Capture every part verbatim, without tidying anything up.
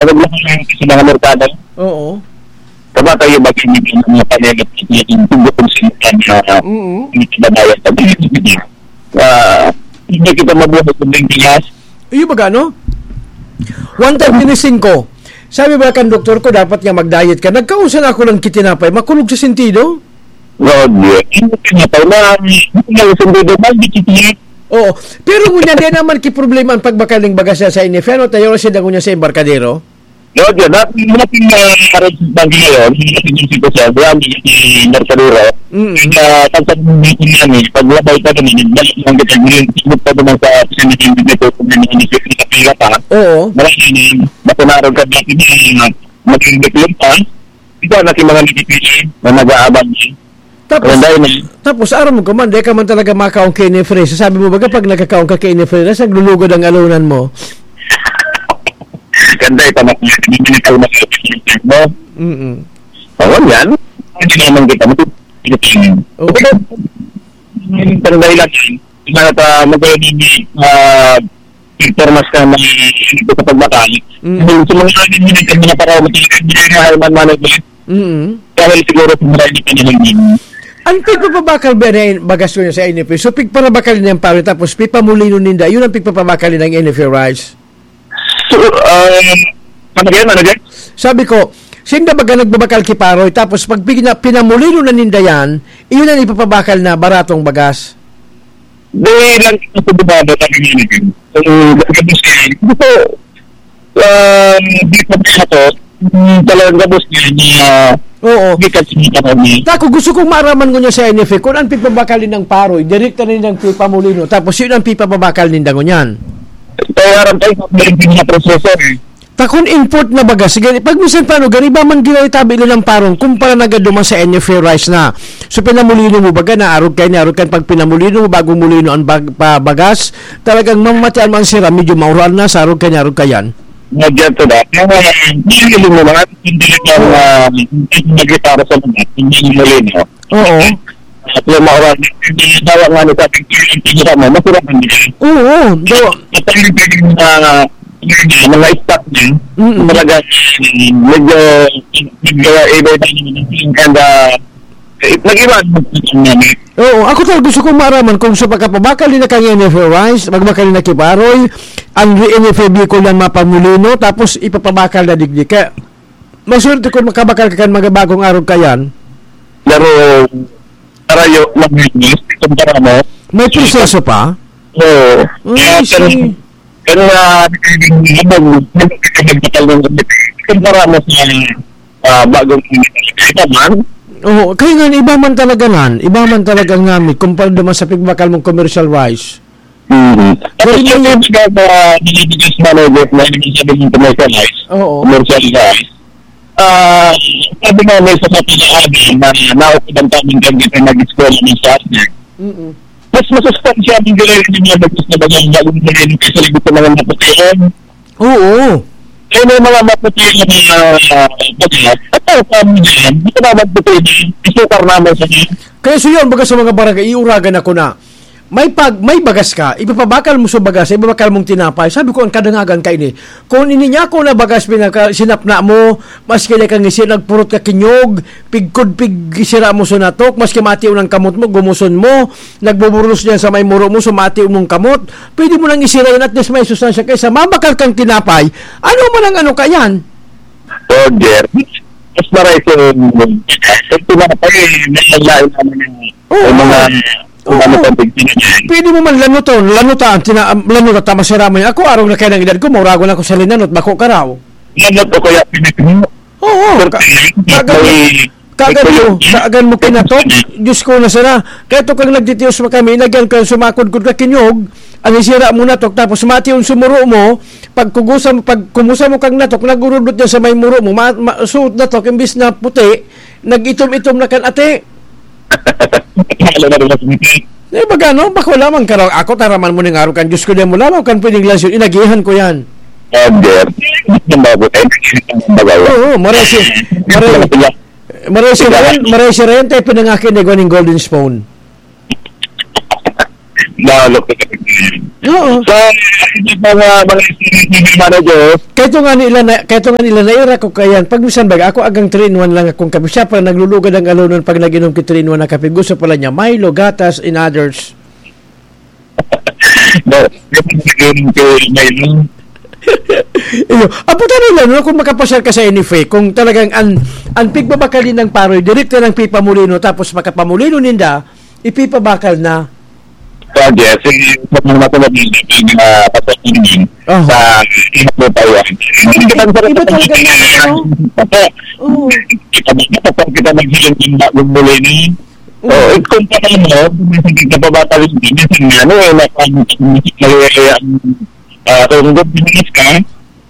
Pag naglakad sa mga merkado, Oo. Kabata yung bagay ng mga panelot, yung tubok kung sino ka na Mm. hindi ka babayad. Pag hindi ka, ah, hindi kita mabuhay kung may bigas. Iyo ba gano? One thirty-five. Sabi ba kan doktor ko, dapat nga mag-diet ka? Nagkaon sana ako ng kitinapay. Makulog sa sentido? Lord, yun. Yung kitinapay na, yung sentido, bakit kitinapay? Oo. Pero ngunyan, di naman ki problema ang pagbakal ng bagas niya sa inifero, tayo na siya dangon niya sa embarkadero. Lord, yun. At yung mga pin-, ah, arrange ng bangkay ngayon, yung mga pin-, yung sitwasyon, wala, hindi si Mercadero. Mm. Kaya, pag sa mga pin-, yan, eh, pag labay pa naman, balik lang kita, yung, yung pa naman sa sinihin dito, kung may mga nagpipila pa. Oo. Marami na yun. Basta naroon ka dati na, ah, maging diploma pa. Ikaw, na si mga nagpipili na nag-aabang, eh. Tapos, Walang dahil, eh. tapos, aram mo ka man, di ka man talaga makaon kay Nefre. Sasabi mo ba, kapag nagkakaon ka kay Nefre, naglulugod ang alunan mo? Ganda ito, mas hindi ka mo. Mm-mm. Oo, yan. Hindi naman kita mo. Oo. Yung tanda lang yan. Yung mga ta-, magkaya din, ah, pigpormas ka na hindi ko sa pagbakal. Mm. Yung sa mga amin, yung mga tanda na para matigas, hindi na high man management. Mm. Dahil siguro sa marami pa naman din. Ang pigpapabakal ba na bagas ko sa N F A? So, pigparabakal niya ang paro, tapos pipamulino ninda. Yun ang pigpapabakal ng N F A rice. So, um, ano yan? Ano yan? Sabi ko, sinda baga nagbabakal ki paroy, tapos pag pina-, pinamulino na ninda yan, iyon ang ipapabakal na baratong bagas. Di lang kita sa bumaba sa community. So, gabos yan. Gusto, um, di pa ba ako? Mm, talagang gabos yan na Oo. di ka sinita kami. Tako, gusto kong maaraman ko niya sa N F A kung ang pipabakal ng paroy, direkta na nilang pipamulino, tapos yun ang pipababakal ninda ngunyan. Kaya aram tayo, meron din na proseso eh. Takon import na bagas. Sige, pag minsan paano, gani ba man ginay tabi nila ng parong, kumpara na gad duman sa N F A rice na. So, pinamulino mo baga, naarog kayo, naarog kayo pag pinamulino mo, bagong mulino ang bag-, pa-, bagas, talagang mamamatian mo ang sira, medyo maural na, sa arog kayo, naarog kayan. Medyo to that. Yung, uh, yung, yung mga, hindi ka, uh, hindi ka para sa mga, hindi yung mulino. Oo. At yung mga oras, yung dawa nga nito, yung tinira mo, masarap ang bigay. Oo, do- At ang pwedeng, ah, mga stock din, Mm. talaga, medyo, medyo iba-iba naman ang feeling and, ah, eh, nag-iba ang feeling namin. Oo, ako talaga gusto kong maaraman kung sa pagkapabakal nila kang N F A rice, magbakal na ki paroy, ang N F A Bicol yan mapamulino, tapos ipapabakal na digdi. Kaya, maswerte kung makabakal ka kan mga bagong arog kayan. Pero, karayo lang yun, eh. Kumpara mo. May proseso pa? Oo. Ay, Kaya, pero, see. pero, ah, hindi, hindi, hindi, hindi, hindi, kumpara mo sa, ah, bagong, ito man. Oo, kaya nga, iba man talaga nan. Iba man talaga ang namit kumpara naman sa pigbakal mong commercial rice. Mm. Tapos Pero yung yung mga, mga binibigay sa mga network na yung sabi ng commercialize, Oo. commercialize, ah, sabi nga may sa mga pag-aaral na naokiban kami kang gitna nag-eskwela ng subject. Mm-mm. Mas masustansya ang galing ng mga nag-eskwela ng bagong galing kaysa lagot sa mga maputian. Oo. Eh, may mga maputian na mga, ah, bagay. At ang sabi niya, hindi ko naman puti na isukar naman sa mga Kaya so yun, baga sa mga barangay, iuragan ako na. May pag-, may bagas ka, ipapabakal mo sa bagas, ipapabakal mong tinapay. Sabi ko, "Ang kadangagan ka ini. Kung ini niya ako na bagas, pinaka-, sinapna mo, maski na kang isi, nagpurot ka kinyog, pigkod, pig-, sira mo sa natok, maski matiw ng kamot mo, gumuson mo, nagbuburlos niyan sa may muro mo, sumatiw mong kamot, pwede mo nang isira yun, at least may sustansya kaysa mabakal kang tinapay." Ano man ang ano ka yan? Roger, mas maray kung, kung tinapay, may lain naman yung Oo. yung mga Oo. ano pang pagpinigyan. Pwede mo man lanuton, lanutan, tina-, lanutan, tama si Ramon. Ako, arog na kayo ng edad ko, mauragon ako sa linanot, bako ka raw. Lanot o kaya pinipino. Oo, Pero ka-, pinipino, kagan mo, may, kagan mo, may kagan mo kinatok, Diyos ko na sana. Kaya to kang nagtitiyos mo kami, inagyan ko yung sumakod-kod ka kinyog, ang isira mo natok, tapos mati yung sumuro mo, pag kugusa mo, pag kumusa mo kang natok, nagurudot niya sa may muro mo, ma-, ma-, suot natok, imbis na puti, nag-itom-itom na kan ate. Lalo na rin sa Pilipinas. Eh, baga, no? Bako lamang ka raw. Ako, taraman mo ning araw kan Diyos ko, di mo lalaw kan pwedeng lansyon. Inagihan ko yan. Sabi, yung bago tayo, nagiging ang bagay. Oo, maray si, maray, maray si Ryan, maray si Ryan, tayo pinangakin na igwa ning Golden Spoon. Lalo ka kapag yun. Oo. So, ito pa nga mga estimate ni Mano Diyos. Kahit nga nila na, kahit nga nila naira ko kayan, pag minsan baga, ako agang three in one lang akong kabi. Siya pa, naglulugad ang alonon pag nag-inom ki three in one na kape. Gusto pala niya, Milo, gatas, and others. No, yung pag-inom ko, Milo. Iyo, abutan nila, no, kung makapasyal ka sa N F A, kung talagang an, an pigbabakalin ng paroy, direkta ng pipamulino, tapos makapamulino ninda, ipipabakal na. Sa Jesse, sa mga matulog nito, pag, ah, pasok ko naman Aha. sa Ihapo Taiwan. Hindi ka Iba talaga na, ano? Opo. Oo. Kita mo, kapag kita maghiling ng bagong muli ni, Oo. oh, eh, kung paano mo, kung minsan kita pabatalin din, minsan nga, ano, eh, naka-, naka-, ah, kung gusto ka,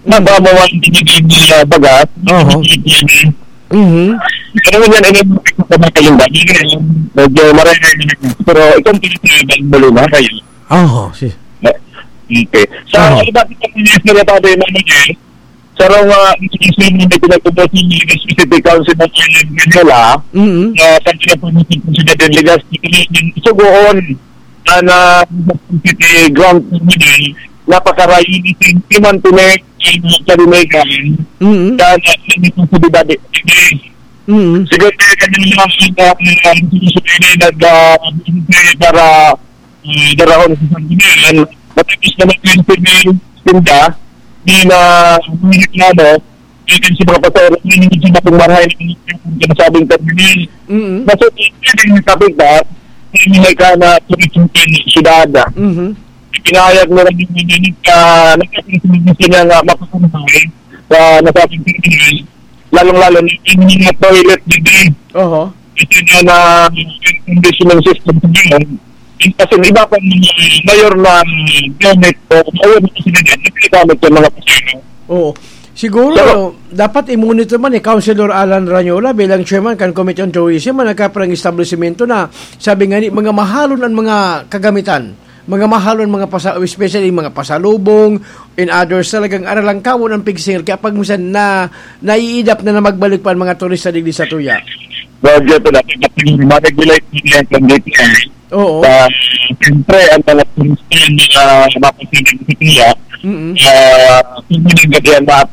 Nababa mo ang binigay nila baga. Oho. Mhm. Pero yan, ano, yung mga kalimbawa, medyo marami na yun. Pero ikaw, pinipilitan mo rin, ha, kayo. Oho, si- Okay. Sa Oho. iba, sa mga sila, Pablo, yung mga yun, sa raw nga, ang sisyon na pinagpapos ng League Specific Council ng Island Manila, Mhm. na sa kinapunan ng Presidente Legaspi, sugoon, na, na City Ground Terminal, napakarayo ni Sentiman Connect, ang Kalimegan, Mm. sa, sa responsibilidad ni City. Mm. Siguro kaya kami lang ang, ang, ang, ang, nag, ah, para, ah, darahon sa Sanggunian. Matapos naman yung City Tinda, di na, ano, Dito sa mga pasahero, hindi sa mga marahay ng sinasabing terminal. Mm. Nasa pwedeng nakapit na, hindi may ka na tumitingin sa syudad. Mhm. Ipinahayag mo rin yung hindi ka nakapit na nga makakumpay sa nasabing terminal, lalong-lalo na yung mga toilet dito. Oho. Ito na na air conditioning system sa ngayon. Kasi iba pa mga mayor na gamit o mayor na sila dyan, nagkagamit yung mga pasahero. Oo. Siguro, Pero dapat i-monitor man ni Councilor Alan Ranyola bilang chairman kan Committee on Tourism, ang nagkaparang establishmento na, sabi nga ni, mga mahalon ang mga kagamitan. Mga mahalon, mga pasa-, especially mga pasalubong, in others, talagang aralangkawon ang pigsingil. Kaya pag minsan na, naiidap na na magbalik pa ang mga turista digdi sa tuya. Roger, ito na, ito na, ito na, ito na, ito na, ito na, Oo. Ah, siyempre, ang mga turista, ang mga mapapasigil sa kaya, Mm-mm. ah, hindi na gabi ang mga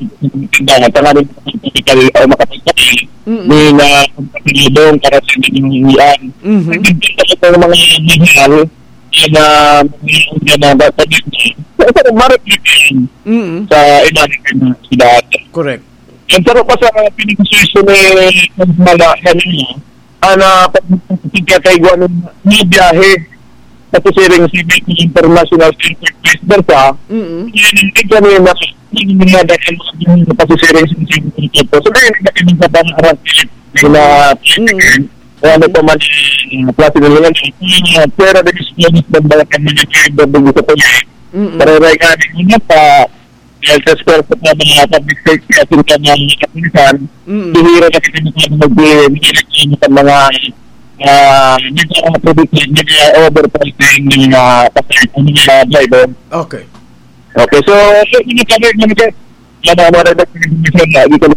tindahan, tanganing makapagpapakal o makapagpakal, Mm-mm. may na pagpasilibong para sa inyong uwian. Mhm. Nagdidinda ko ng mga mahal na mga uwian na dapat dito. Sa isang marap dito Mm-mm. sa ibanan ng syudad. Correct. Ang sarap pa sa pinag-session ni Mala kanina, ana, pag-, pagkakaigwa ng mga biyahe, pasisiring sa Bicol International Airport, vice versa, Mm-mm. yun, hindi kami na, hindi na dahil sa mga pasisiring sa Cebu. So, dahil na kami sa pangarap na Mm. kaya ano pa man yung klase nila yan, yung pera de disponis ng mga kami na driver dun sa tuloy. Mm-mm. Para rin nga, hindi na pa, Dahil sa esfuerzo ng mga public safety at yung kanyang kapulisan, Mm. bihira na kita mag-, mag-, mag-, sa mga, ah, medyo mga public, medyo overpricing ng mga pasahero, ng mga driver. Okay. Okay, so, so, hindi kami, hindi kami, wala, wala na, hindi kami, hindi kami,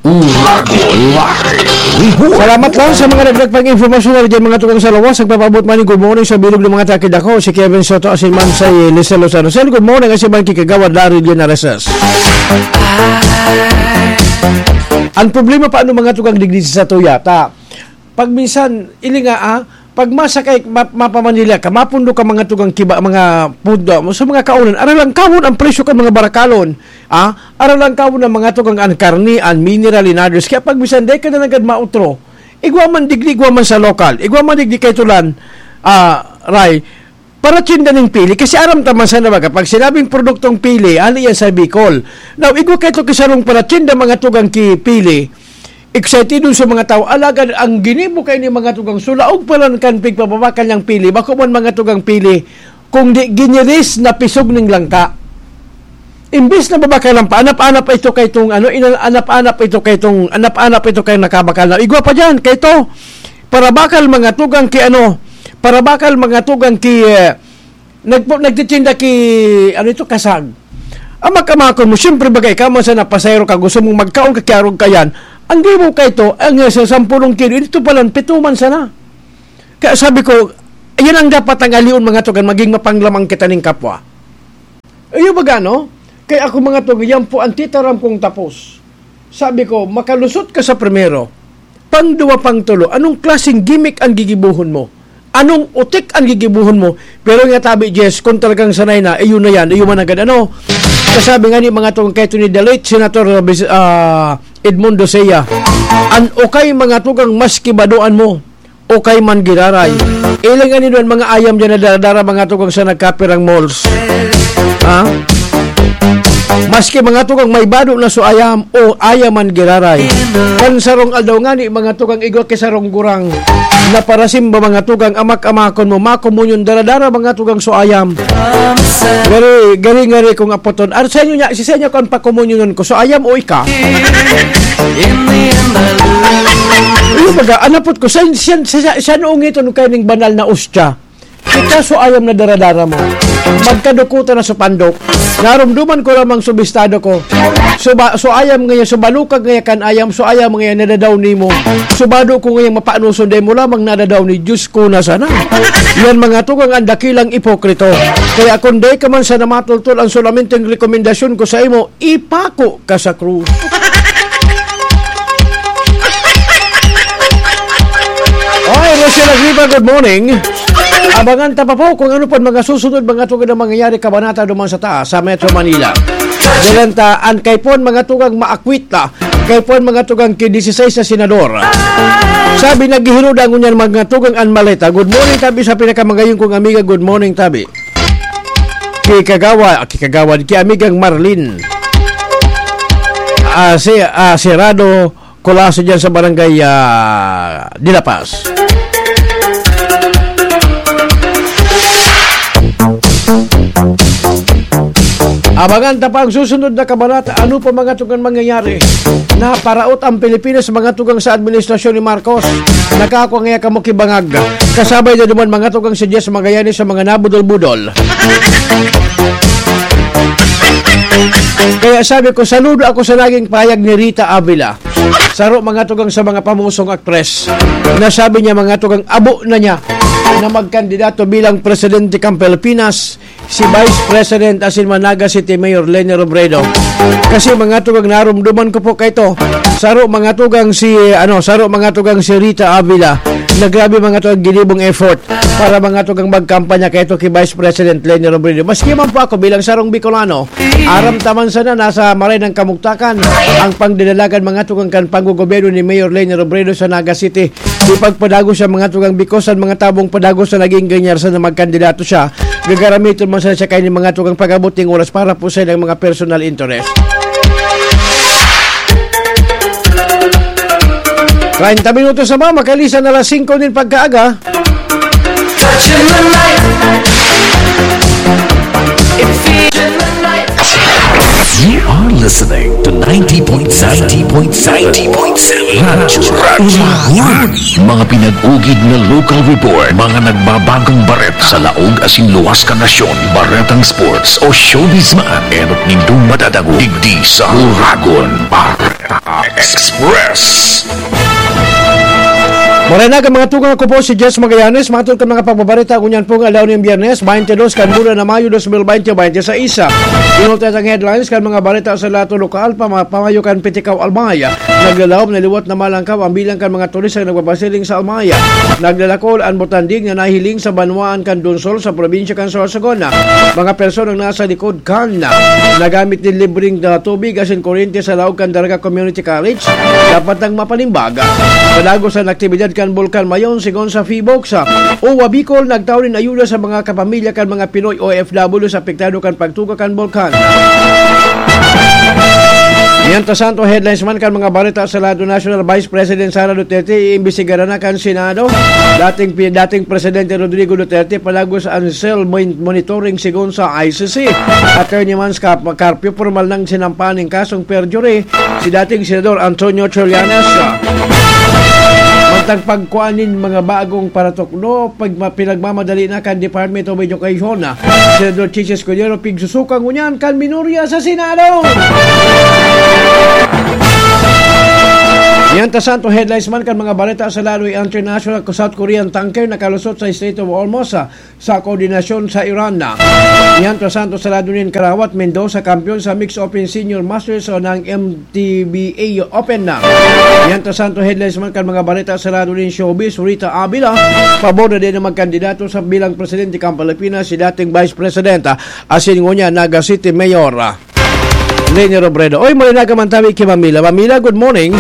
Umago Live Report. Salamat lang sa mga nagdagdag pang impormasyon na dyan, mga tugang sa lawas. Nagpapaabot man ni Good Morning sa bilog ng mga takid ako, si Kevin Soto, asin man si Lisel Lozano. Sir, good morning, asin man ki Kagawad Larry Linares. Ang problema, paano, mga tugang, digdi sa tuya? Ta, pag minsan, ili nga, ah, pag masakay, ma-, mapa-Manila ka, mapundo ka, mga tugang, kiba, mga pundo, sa mga kaonan, aralangkawon ang presyo kan mga barakalon, ah, aralangkawon ang, mga tugang, an karne, an mineral, in others. Kaya pag minsan, dai ka na nanggad mautro, igwa man digdi, igwa man sa lokal, igwa man digdi kay Tulan, ah, Ray, para tinda ning pili, kasi aram ta man sana baga, pag sinabing produktong pili, ano yan sa Bicol? Now, igwa kaito ki sarong para tinda, mga tugang, ki pili, excited dun sa mga tao, alagad ang ginibo kaini, mga tugang, sulaog pa lang kan pigpapabakal niyang pili, bako man, mga tugang, pili, kung di giniris na pisog ning langka. Imbis na babakalan pa, anap-anap ito kay tong ano, inal-, anap-anap ito kay tong, anap-anap ito kay nakabakal na. Igwa pa diyan, kay to, para bakal, mga tugang, ki ano, para bakal, mga tugang, ki, eh, nagpo-, nagtitinda ki, ano ito, kasag. Ang makamakon mo, siyempre, bagay ka man sa napasayro ka, gusto mong magkaon ka, kiarog ka yan, Ang gibo kay to, ang, eh, sa sampulong kilo, ito palan, pito man sana. Kaya sabi ko, yan ang dapat ang alion, mga tugang, maging mapanglamang kita ning kapwa. Iyo baga, no? Kaya ako, mga tugang, yan po ang titaram kong tapos. Sabi ko, makalusot ka sa primero, pang duwa, pang tulo, anong klaseng gimmick ang gigibuhon mo? Anong utik ang gigibuhon mo? Pero nga tabi, Jess, kung talagang sanay na, eh, yun na yan, eh, yun man agad, ano? Kasabi nga ni mga tugang kay Tony the late Senator, uh, bis-, ah, Edmundo Sea, "An ukay mga tugang maski badoan mo, ukay man giraray." Ilang ani doon mga ayam dyan na daradara mga tugang sa nagkapirang malls. Ha? Maski mga tugang may bado na so ayam, o ayam man giraray. Kan sarong aldaw ngani, mga tugang igwa ki sarong gurang na parasimba, mga tugang amak-amakon mo, makomunyon daradara, mga tugang so ayam. Gari, gari, gari kung apoton. Ar, sa inyo niya, si sa inyo kung pakomunyonon ko, so ayam o ika? Iyo baga, anapot ko, sa, sa, sa, sa, sa noong ito, nung kayo ning banal na ustya? Kita so ayam na daradara mo. Magkadukutan na sa pandok. Narumduman ko lamang subistado ko. So, ba, so ayam ngayon, so balukag ngayon kan ayam, so ayam ngayon nadadaw nimo. So bado ko ngayon mapanoson, dahil mo lamang nadadaw ni Diyos ko na sana. Yan mga tugang ang dakilang ipokrito. Kaya kung di ka man sana matultol, ang solamenteng rekomendasyon ko sa imo, ipako ka sa krus. Oy, Rochelle Agripa, good morning. Abangan ta pa po kung ano pa mga susunod, mga tugang na mangyayari kabanata duman sa taas, sa Metro Manila. Dalan ta, an kay pon mga tugang maakwit ta, kay pon mga tugang ki dieciséis na senador. Sabi, naghihiro da ngunyan mga tugang an maleta. Good morning, tabi, sa pinakamagayon kong amiga. Good morning, tabi. Ki Kagawa-, ki Kagawad, ki amigang Marlene. Ah, si, ah, Serrado Colaso dyan sa barangay, ah, de La Paz. Abangan ta pa ang susunod na kabanata. Ano pa mga tugang mangyayari? Naparaot ang Pilipinas, mga tugang sa administrasyon ni Marcos. Nakakua ngaya kamo ki bangag. Kasabay na duman mga tugang si Jess Magallanes sa mga nabudol-budol. Kaya sabi ko, saludo ako sa naging pahayag ni Rita Avila. Saro mga tugang sa mga pamusong aktres na sabi niya mga tugang abo na niya na magkandidato bilang presidente kan Pilipinas, si Vice President asin man Naga City Mayor Leni Robredo. Kasi mga tugang narumduman ko po kay to. Saro mga tugang si, ano, saro mga tugang si Rita Avila na grabe mga tugang ginibong effort para mga tugang magkampanya kay to ki Vice President Leni Robredo. Maski man po ako bilang sarong Bicolano, aram ta man sana nasa maray ng kamugtakan ang pangdidalagan mga tugang kan panggogobyerno ni Mayor Leni Robredo sa Naga City. Di pagpadagos siya mga tugang because ang mga tabong padagos na naging ganyan sa na magkandidato siya. Gagaramiton man sana siya kaini mga tugang pag-abot ning oras para po sa ilang mga personal interest. Treinta minutos na ba? Makalisan na alas singko nin pagkaaga. You are listening to ninety point seven, ninety point seven, ninety point seven Radyo Uragon. Mga pinag-ugid na local report, mga nagbabagong bareta sa laog asin luwas kan nasyon, baretang sports o showbiz man, enot nindong madadangog digdi sa Uragon Bareta Express. Maray na, mga tugang, ako po si Jess Magallanes. Matod kan mga pagbabareta, ngunyan pong aldaw nin Biyernes, twenty-two kan bulan na Mayo, dos mil twenty, twenty-six. Inulta ang headlines kan mga bareta sa lahat ng lokal, pama-, pamayo kan Pitikaw Albay. Naglalaom na liwat na malangkaw ang bilang kan mga turistang nagbabasiling sa Albay. Naglalakol an botanding na nahiling sa banwaan kan Donsol sa probinsya kan Sorsogon. Mga personang nasa likod kan nagamit nin libreng, ah, tubig asin kuryente sa laog kan Daraga Community College, dapat nang mapanimbag. Padagos an aktibidad kan Bulkan Mayon, sigon sa Phivolcs. OWWA Bicol nagtao nin ayuda sa mga kapamilya kan mga Pinoy O F W sa apektado kan pagtuga kan bulkan. Mientras tanto, headlines man kan mga bareta sa lado nasyonal, Vice President Sara Duterte iimbestigaran na kan Senado. Dating pi-, dating Presidente Rodrigo Duterte padagos an cell mon-, monitoring sigon sa I C C. Attorney man sa kap-, karpyo, pormal nang sinampahan nin kasong perjury si dating Senador Antonio Trillanes. Mantang pagkuan nin mga bagong paratukdo, pag ma-, pinagmamadali na kan Department of Education, Senador Chiz Escudero, pigsusuka ngunyan kan minorya sa Senado. Yan ta santo headlines man kan mga bareta sa lado international, South Korean tanker nakalusot sa Strait of Hormuz sa koordinasyon sa Iran. Yan ta santo sa lado nin karawat, Mendoza kampiyon sa Mixed Open Senior Masters o ng M T B A Open na. Yan ta santo headlines man kan mga bareta sa lado nin showbiz, Rita Avila, pabor na din na magkandidato sa bilang presidente kan Pilipinas si dating Vice President, asin ngunyan Naga City Mayor Leni Robredo. Oy, may nagamantabi ki Mamila. Mamila, good morning.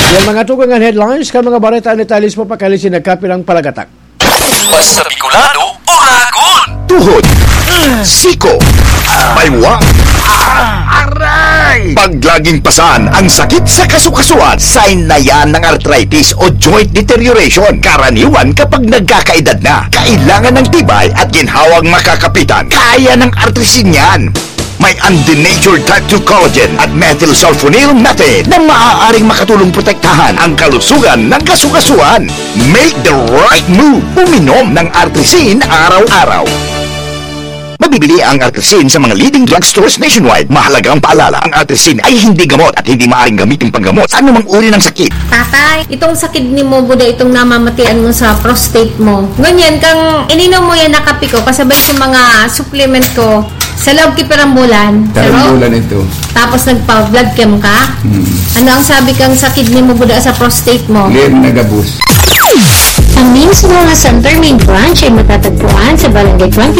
Yan mga tugang an headlines kan mga bareta an detalye mismo pakalisin nagkapirang palagatak. Mas sa Bicolano, Oragon! Tuhod, siko, baywa, aray! Pag laging pasan ang sakit sa kasukasuan, sign na yan ng arthritis o joint deterioration. Karaniwan kapag nagkakaedad na, kailangan ng tibay at ginhawang makakapitan. Kaya ng Artrisin yan. May undenatured type two collagen at methylsulfonyl methane na maaaring makatulong protektahan ang kalusugan ng kasukasuan. Make the right move. Uminom ng Artrisin araw-araw. Mabibili ang Artrisin sa mga leading drugstores nationwide. Mahalagang paalala, ang Artrisin ay hindi gamot at hindi maaaring gamitin panggamot sa anumang uri ng sakit. Tatay, itong sakit ni mo, buda itong namamatian mo sa prostate mo. Ngunyan, kang ininom mo yan na kape ko, kasabay sa mga supplement ko, sa loob ki pirambulan. Karambulan ito. Tapos nagpa-blood chem ka? Hmm. Ano ang sabi kang sa kidney mo, buda sa prostate mo? Lir na gabos. Ang mismo nga Center Main Branch ay matatagpuan sa Barangay twenty